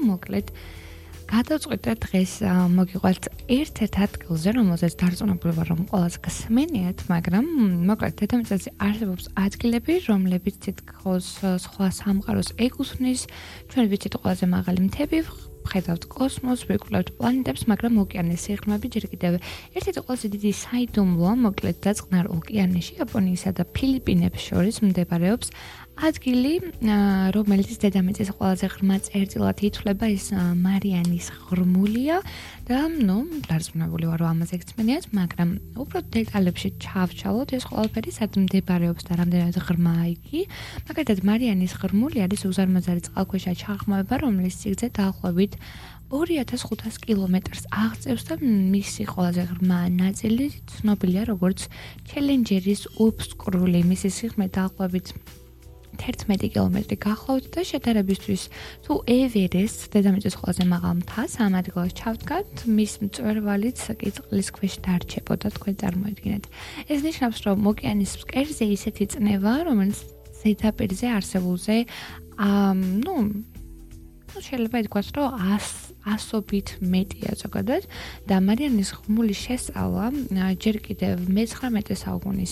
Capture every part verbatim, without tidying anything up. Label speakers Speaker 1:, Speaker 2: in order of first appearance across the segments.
Speaker 1: მოკლედ გადავწყვიტე დღეს მოგიყვეთ ერთ-ერთ ადგილზე, რომელზეც დარწმუნებული ვარ, რომ ყველას გსმენიათ, მაგრამ მოკლედ დედამიწაზე არსებობს ადგილები, რომლებიც თითქოს სხვა სამყაროს ეკუთვნის, ჩვენ ვიცით ყველაზე მაღალი მთები, ხედავთ კოსმოსს, ვიკვლევთ პლანეტებს, მაგრამ ოკეანის სიღრმეები ჯერ კიდევ ერთ-ერთი ყველაზე დიდი საიდუმლოა, მოკლედ დაწყნარ ოკეანეში, იაპონიისა და ფილიპინებს შორის მდებარეობს ადგილი, რომელიც დედამიწის ყველაზე ღრმა წერტილად ითვლება, ის მარიანის ღრმულია და, ნუ, დარწმუნებული ვარ, რომ ამაზე გწმენიათ, მაგრამ უფრო დეტალებში ჩავშალოთ ეს ყველაფერი, სად მდებარეობს და რამდენად ღრმაა იგი. მაგალითად, მარიანის ღრმული არის უზარმაზარი წყალქვეშა ჩაღრმავება, რომლის სიგრძე დაახლოებით ორი ათას ხუთას კილომეტრს აღწევს და მისი ყველაზე ღრმა ნაწილი ცნობილია როგორც ჩელენჯერის უბსკრული. მისი სიღრმე დაახლოებით თერთმეტი კილომეტრი გახლავთ და შედარებისთვის თუ ევერესტს, დედამიწის ყველაზე მაღალ მთას, ამ ადგილას ჩავდგათ, მის მწვერვალიც კი წყლის ქვეშ დარჩებოდა, თქვენ წარმოიდგინეთ. ეს ნიშნავს, რომ ოკეანის ფსკერზე ისეთი წნევა, რომელიც ზედაპირზე არსებულზე, ნუ, შეიძლება ითქვას, რომ ასობით მეტია ზოგადად და მარიანის ღრმულის შესწავლა ჯერ კიდევ მეცხრამეტე საუკუნის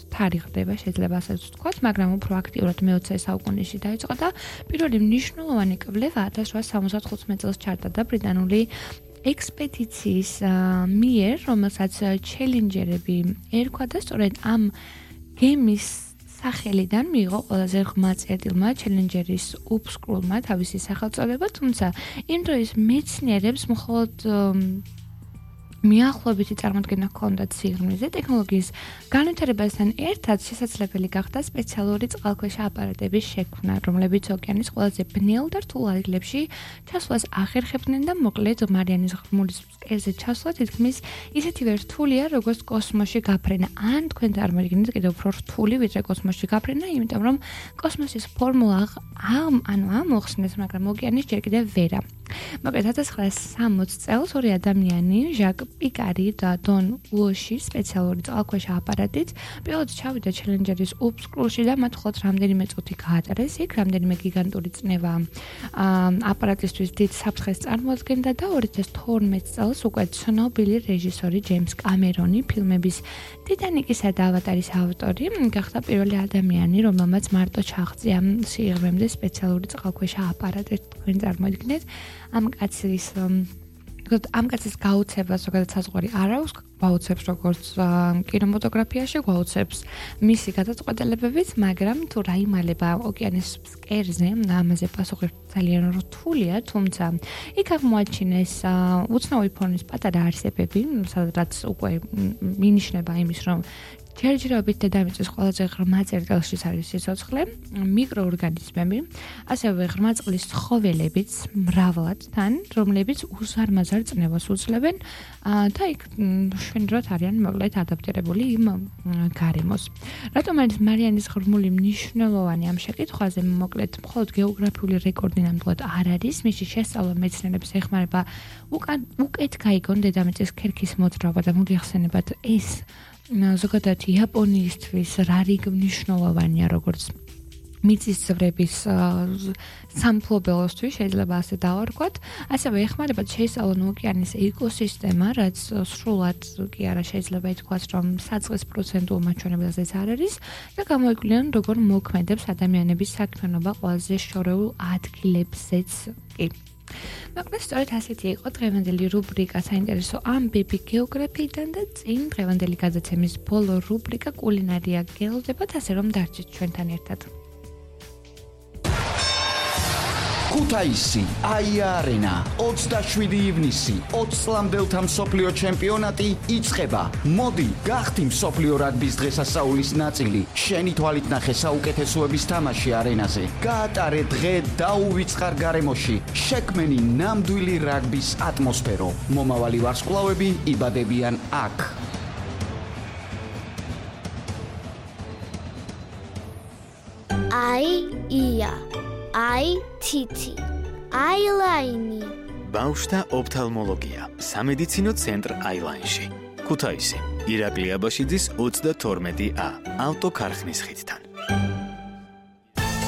Speaker 1: თარიღდება, შეიძლება ასაც ვთქვათ, მაგრამ უფრო აქტიურად მეოცე საუკუნეში დაიწყო და პირველი მნიშვნელოვანი კვლევა ათას რვაასა სამოცდახუთმეტ წელს ჩაატარა და ბრიტანული ექსპედიციის მიერ, რომელსაც ჩელენჯერები ერქვა და სწორედ ამ გემის სახელიდან მიიღო ყველაზე ღრმა წერტილმა ჩელენჯერის უბსკრულმა თავისი სახელწოდება, თუმცა იმ დროის მეცნიერებს მხოლოდ მიახლოებითი წარმოდგენა ჰქონდათ სიღრმეზე. ტექნოლოგიის განვითარებასთან ერთად შესაძლებელი გახდა სპეციალური წყალქვეშა აპარატების შექმნა, რომლებიც ოკეანის ყველაზე ბნელ და რთულ ადგილებში ჩასვლას ახერხებდნენ და მოკლედ მარიანის ღრმულის ფსკერზე ჩასვლა თითქმის ისეთივე რთულია, როგორც კოსმოსში გაფრენა. ან თქვენ წარმოიდგინეთ კიდევ უფრო რთული, ვიდრე კოსმოსში გაფრენა, იმიტომ რომ კოსმოსის ფორმულა ამ ანუ ამ მოხსნეს, მაგრამ ოკეანის ჯერ კიდევ ვერა. მოკლედ ათას ცხრაასა სამოცდ წელს ორი ადამიანი, ჟაკ პიკარი და დონ უოში სპეციალური წყალქვეშა აპარატით პირველად ჩავიდა ჩელენჯერის უბსკრულში და მათ მხოლოდ რამდენიმე წუთი გაატარეს იქ, რამდენიმე გიგანტური წნევა აპარატისთვის დიდ საფრთხეს წარმოადგენდა და ორი ათას თორმეტ წელს უკვე ცნობილი რეჟისორი ჯეიმს კამერონი, ფილმების ტიტანიკისა და ავატარის ავტორი, გახდა პირველი ადამიანი, რომელმაც მარტო ჩაღწია სიღრმემდე სპეციალური წყალქვეშა აპარატი, თქვენ წარმოიდგინეთ. ამ კაცის ამ კაცის გაუცება ზოგადად საზღვარი არ აქვს, გვაუცებს როგორც კინემატოგრაფიაში, გვაუცებს მისი გადაწყვეტილებებიც, მაგრამ თუ რაიმალება ოკეანის ფსკერზე, ამაზე პასუხი ძალიან რთულია, თუმცა იქ აღმოაჩინეს უცნაური ფორმის პატარა არსებები, სადაც უკვე მინიშნება იმის, რომ ჯერჯერობით დედამიწის ყველაზე ღრმა წერტილში არის სიცოცხლე, მიკროორგანიზმები, ასევე ღრმა წყლის ცხოველებიც მრავლად თან, რომლებიც უზარმაზარ წნევას უძლებენ და იქ შვენივრად არიან მოკლედ ადაპტირებული იმ გარემოს. რატომ არის მარიანის ღრმული მნიშვნელოვანი ამ შეკითხვაზე? მოკლედ მხოლოდ გეოგრაფიული რეკორდი ნამდვილად არ არის, მისი შესწავლა მეცნიერებს ეხმარება უკეთ გაიგონ დედამიწის ქერქის მოძრაობა და მოგეხსენებათ ეს ზოგადად იაპონიისთვის რა რიგ მნიშვნელოვანია, როგორც მიწისძვრების სამფლობელოსთვის, შეიძლება ასე დავარქვათ. ასევე ეხმარება შეისწავლონ ოკეანის ეკოსისტემა, რაც სრულად კი არა შეიძლება ითქვას, რომ საწყის პროცენტულ მაჩვენებელზეც არ არის და გამოიკვლიონ, როგორ მოქმედებს ადამიანების საქმიანობა ყველაზე შორეულ ადგილებზეც კი. მოკლედ სწორედ ასეთი იყო დღევანდელი რუბრიკა საინტერესო ამბები გეოგრაფიიდან და წინ დღევანდელი გადაცემის ბოლო რუბრიკა კულინარია გელოდებათ, ასე რომ დარჩით ჩვენთან ერთად.
Speaker 2: ქუთაისი, აია-არენა, ოცდაშვიდი ივნისი, ოცი წლამდელთა მსოფლიო ჩემპიონატი იწყება. მოდი, გახდი მსოფლიო რაგბის დღესასწაულის ნაწილი. შენი თვალით ნახე საუკეთესოების თამაში არენაზე. გაატარე დღე დაუვიწყარ გარემოში. შექმენი ნამდვილი რაგბის ატმოსფერო. მომავალი ვარსკვლავები იბადებიან აქ.
Speaker 3: აი ია აი თითი აილაინი
Speaker 4: ბავშვთა ოფთალმოლოგია სამედიცინო ცენტრ აილაინში ქუთაისი ირაკლი აბაშიძის ოცდათორმეტი ა ავტოქარხნის ხიდთან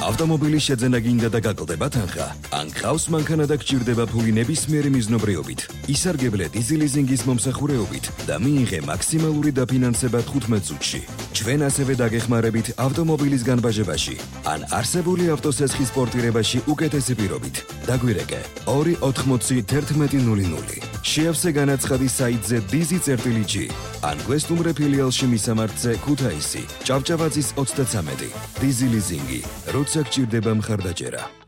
Speaker 5: ავტომობილის შეძენა გინდა და გაკლდება თანხა, ან გყავს მანქანა და გჭირდება ფული ნებისმიერი მიზნობრიობით. ისარგებლე დიზილიზინგის მომსახურეობით და მიიღე მაქსიმალური დაფინანსება თხუთმეტ წუთში. ჩვენ ასევე დაგეხმარებით ავტომობილის განბაჟებაში, ან არსებული ავტოსესხის პორტირებაში უკეთესი პირობით. დაგვირეკე ორი ოთხმოცი თერთმეტი ნული ნული. შეავსე განაცხადი საიტზე dizi.gi ან გვესტუმრე ფილიალში მისამართზე ქუთაისი, ჭავჭავაძის ოცდათვრამეტი. დიზილიზინგი, როცა გჭირდება მხარდაჭერა.